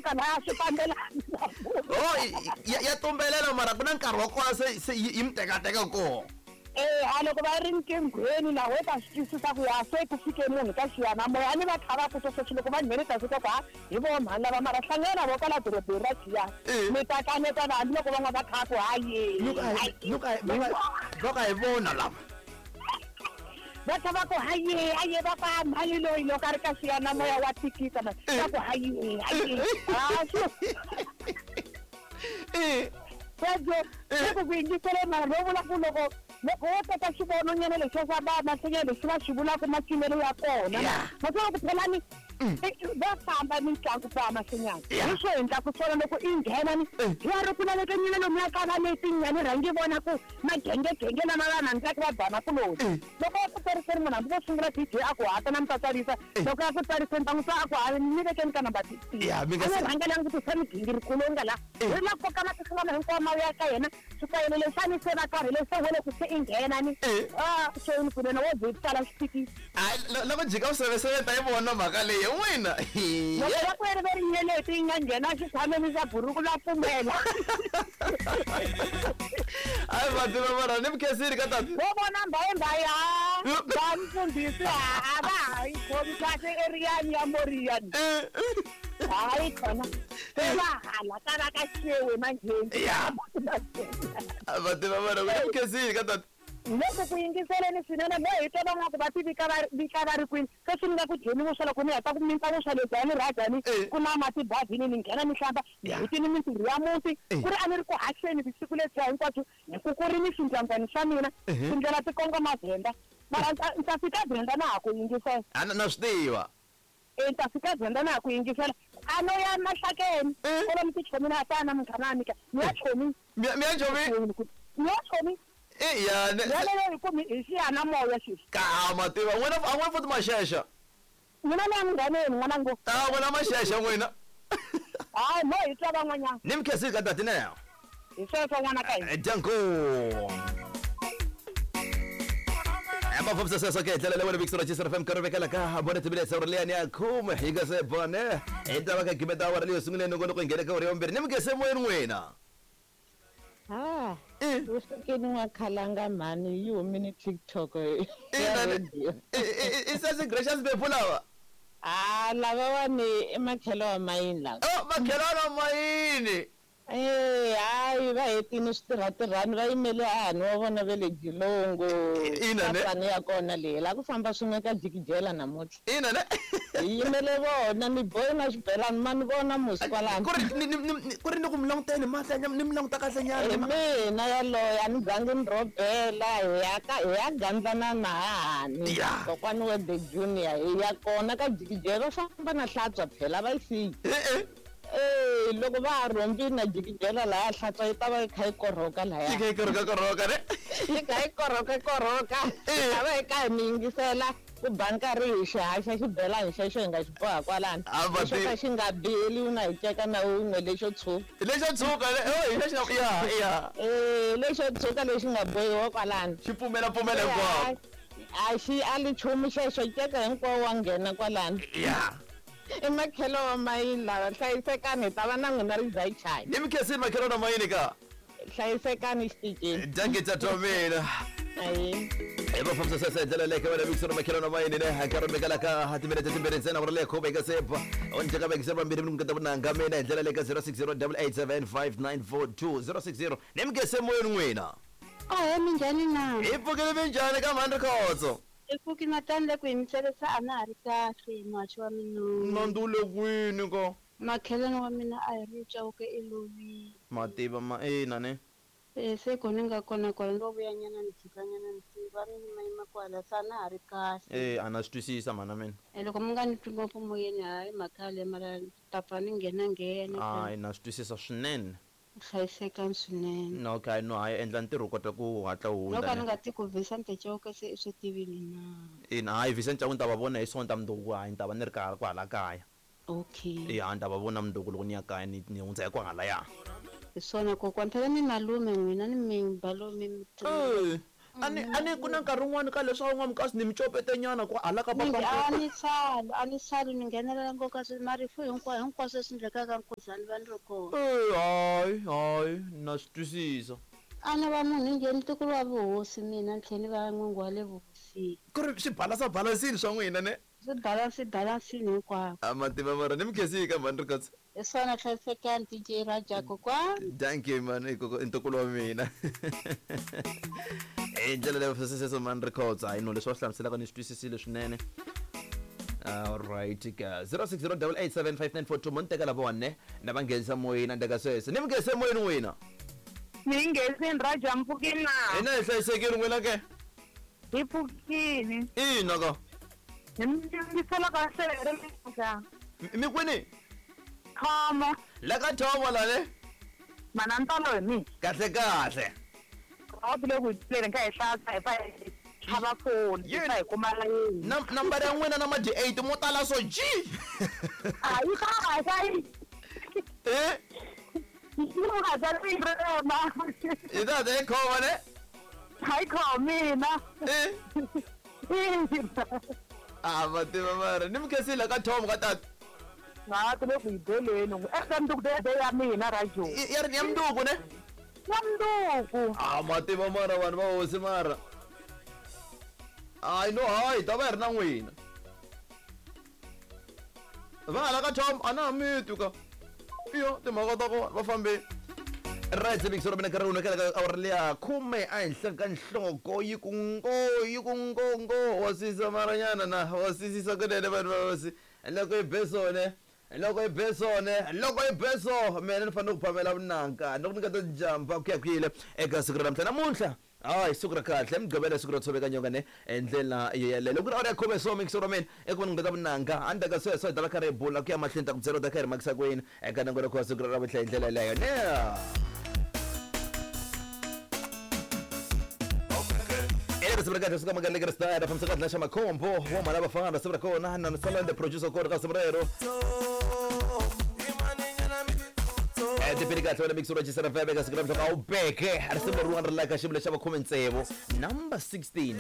teka laya swi fambelani. Oh, ya tumbelela mara ku na nkarhi wa kona se yi mi tekateka koho. A loko va ri nkinghweni na we ta swi twisisa ku ya se ku fike munhu ka xiyanimoya a ni va kha va ku sweswi loko va nghene ta swi twa ku ha hi vo mhani lava mara hlangana na vo kwala dorobeni ra Giyani mi ta kanetana hambiloko van'wana va kha ku haye va ka hi vona lava va kha va ku haye haye va ka mhani loyi loko a ri ka xiyanimoya wa tikisa ma va ku haye haye sweswo se ku ku yingisele mara no vula ku loko loko wo teka xivononyana lexiya xa va mahlenya lexi va xi vulaka macinelo ya kona maswona ku phela ni va famba mitlangu va mahlenyana hi swo endlaku swona loko i nghena ni ya ri ku laveka nyina lomuya ka va letinyani rhangi vona ku magengegenge lama va rhandzaka va bana kuloni loko va ku tsariseni munhu hambi vo sungula DJ a ku hata na mi ta tsarisa loko ya ku tsariseni ta n'wi twa a ku ha ni vekeni ka number 16 a ni rhangelanga ku tisa migingiriko lowu nga la ri la koka matihlo lama hinkwawo ma ya ka yena swikayelo lexani se va karhele se wele ku se i nghena ni a xoni kunene wo ze tsala xithikisi loko jika useveseve ta yi vona mhaka leyi n'wina loko va ku ri ve ri nyeleti yi nga nghena xitshameni xa buruku la pfumela hayi vativa mara ni mukhensini ka tati vo vona mbayimbayi ha va mfundhisi ha va ha yi khomi kahle eriyani ya moriyani hayi khona se va hala ka va ka xewe manjheni ya vativa mara ni mukhensini ka tati loko ku yingiseleni swinene mo hi twa van'wana va ti vika va vika va ri kwini sweswi ni nga ku dyeni vuswa loko ni heta ku minta vuswa lebyi a ni rhajani ku na mati bavhini ni nghena ni hlamba ni hetini mintirho ya muti ku ri a ni ri ku haxeni vusiku lebyiya hinkwabyo hi ku ku ri ni swindyangwani swa mina tindlela ti kongoma Venda mara ni ta fika Venda na ha ku yingisela a na swi tiva ni ta fika Venda na ha ku yingisela a no ya Mahlakeni kwalomu tichomini a ta na munghana wa mina ni ya chomi mi ya chomi ni ya chomi ya yaleyo hi ku hi xiyanimoya xexi ka mativa n'wina a n'wina futhi maxexa mina ni ya munghaneni n'wana ngo a n'wina maxexa n'wina hayi mo hi twa van'wanyana ni mikhensini ka tati neyo hi sweswo n'wana ka hina danko mafambisa sweswo ke hi ndlela leyi wena vikisela Chisa FM nkarhi vekela ka bone timinetse uri leyani ya khume hi nga se bone hi ta va ka gimeta awara leyo sunguleni nongonoko hi nghene ka uri ya vumbirhi ni mikhese moyeni n'wina ha usukeni wa khalanga mhani yi humini TikTok ya radio i sesi Gracious Bepu lava a lavawani i makhelo wa mayini lava oh makhelo wa mayini hayi va hetini switirhatirhani va yimele hahani wa vona ve le Gilongo kapani ya kona leyi la ku famba swin'we ka jikijela namuntlha ina ne hi yimele vona ni bohi na xibelani ma ni vona musi kwalano ku ri ni ku mi languteni mahla ni mi languta kahle nyana hi mina yaloyo a ni zangi ni rhobela hi ya gandlana na hahani kokwani wa the junior hi ya kona ka jikijela va famba na hlantswa phela va yi siyi loko va ha rhombini na jikijela laya hlantswa yi ta va yi kha yi korhoka laya yi kha yi korhoka korhoka ne yi kha yi korhoka korhoka ta va yi kha hi mi yingisela ku ba nkarhi hi xihaxa xibelani xexo hi nga xi boha kwalano lexo ka xi nga beli na hi ceka na wun'we lexo tshuka lexo tshuka lexo ya ya lexo tshuka lexi nga bohiwa kwalano xi pfumela pfumela hinkwako a xi ali nchumu xexo ceka hinkwawo wa nghena kwalano ya i makhelo wa mayini lava hlayisekani hi ta va na n'wina ri dzayi chayi ni mikhensini makhelo na mayini ka hlayisekani xiticini danke tata wa mina hi va fambisa sweswo hi ndlela leyi ka wena vikisana makhelo na mayini ne nkarhi mekala ka timinete timbirhi ntsena ku ri leyi khume ka sepa u ni teka vekisela vambirhi mi niketa vunanga mina hi ndlela leyi ka 060 887 060 ni mikhese moyeni n'wina ahe minjhani na hi pfukile minjhani ka mhani rikhotso i pfuki natani le ku hi mitselesa a na ha ri kahle muhaxi wa mina nandzu wu le kwini ko makhelwani wa mina a hi ri Chauke i lovile mativa ma ina ne se ko ni nga kona kwala ni lo vuyanyana ni jikanyana ni tiva mi yimayima kwala se a na ha ri kahle a na swi twisisa mhana mina loko mi nga ni twi ngopfu moyeni hayi mhaka yaleyo mara ni ta pfa ni nghena nghena hayi na swi twisisa swinene hlayisekani swinene no okay no hayi endla ntirho u kota ku hatla u hundza no ka ni nga ti ku Vincent Chauke se i swi tivile na ina hayi Vincent Chauke ni ta va vona hi Sonta mundzuku hayi ni ta va ni ri karhi kwahala kaya okay ya ni ta va vona mundzuku loko ni ya kaya ni ni hundza hi kwahalaya hi swona kokwani phela ni malume n'wina ni mi malume A ni ku na nkarhi wun'wani ka leswi a wu nga mukasi ni mi copetenyana ku hala ka Ni papa. A ni sali, a ni sali, ni nghenelela ngopfu kasi marifu hinkwayo, hinkwaswo leswi endlekaka nkuzani va ni ri kona. Eh, hayi hayi, na swi twisisa. A ni va munhu njhe ntukulu wa vuhosi mina, ni tlhela ni va n'wingi wa le vuhosini. Ku ri swi balansa balansini swa n'wina ne? Swi balansi balansini hinkwako. A mativa mara ni mi khensile mhani Rikhotso. Hi swona, hlayisekani DJ Raja kokwani. Thank you man, i ntukulu wa mina hi ndlela leyo sweswo mani Rikhotso. Hayi no, leswi va swi hlamuselaka ni swi twisisile swinene. Alright ka 0608875942 mo ni teka lavawani na va nghenisa moyeni. Andeka sweswo ni mi nghenise moyeni n'wina. Ni nghenisini Raja, mpfukini na? Hina hi hlayisekile, n'wina ke? Hi pfukini. Ina ka. Hi mi yingisela kahle ri. Mi kwini? Thomo. La ka Thomo lale. Mana ntalo hi mina. Kahle kahle. A ku le ku hi kha hi hlatsa hi fa hi tlhava foni hi fa hi kuma layeni. Nambara ya n'wina na madi 8 mo tala so g. A yi kahle. Eh. Yi nga ta ri rona. Hi ta ta yi khoma ne? Hayi khomina. Eh. A va tiva mara ni mi khensile ka Thomo ka tata. Nga ku le ku hi beleni eka mundzuku de ya mina radio. Ya ri ya mundzuku ne? Ya mundzuku. A ma tiva mara vanhu va hosi mara hayi no, hayi ta va hi ri na n'wina va hala ka Tom, a na ha mi twi ka iyo timhaka ta kona va fambeni. Right, se ra mina nkarhi wun'we ka awara leya khume ehenhla ka nhloko yi ku ngo yi ku ngo ngo wa sisa maranyana na wa sisisa kunene vanhu va hosi. Loko yi be sone, loko yi be sone, loko yi be so mina ni fanele ku phamela vunanga loko ni nga ta jumpa ku ya kwile eka siku ra namuntlha. Namuntlha hayi, siku ra kahle, Mugqivela, siku ro tshoveka nyonga ne hi ndlela yeleyo. Loko ku ri awara ya khume so mixo ra mina eku va ni ngata vunanga endzhaku ka sweswo hi ta va kha ri hi bula ku ya mahlweni, ta ku byela u ta kha hi ri makisa kwini eka nongonoko wa siku ra namuntlha hi ndlela yeleyo ne. Risimu ra kahle suka magalekere style fambisa kahle xa makhombo wa mhala vafana. Risimu ra kona na Salande producer kona ka risimu rero. Tipili kahle wena mixo ra Chisana FM eka siku ra mhla a wu beke risimu leriwani ri la ka xivula xa va 16, number 16.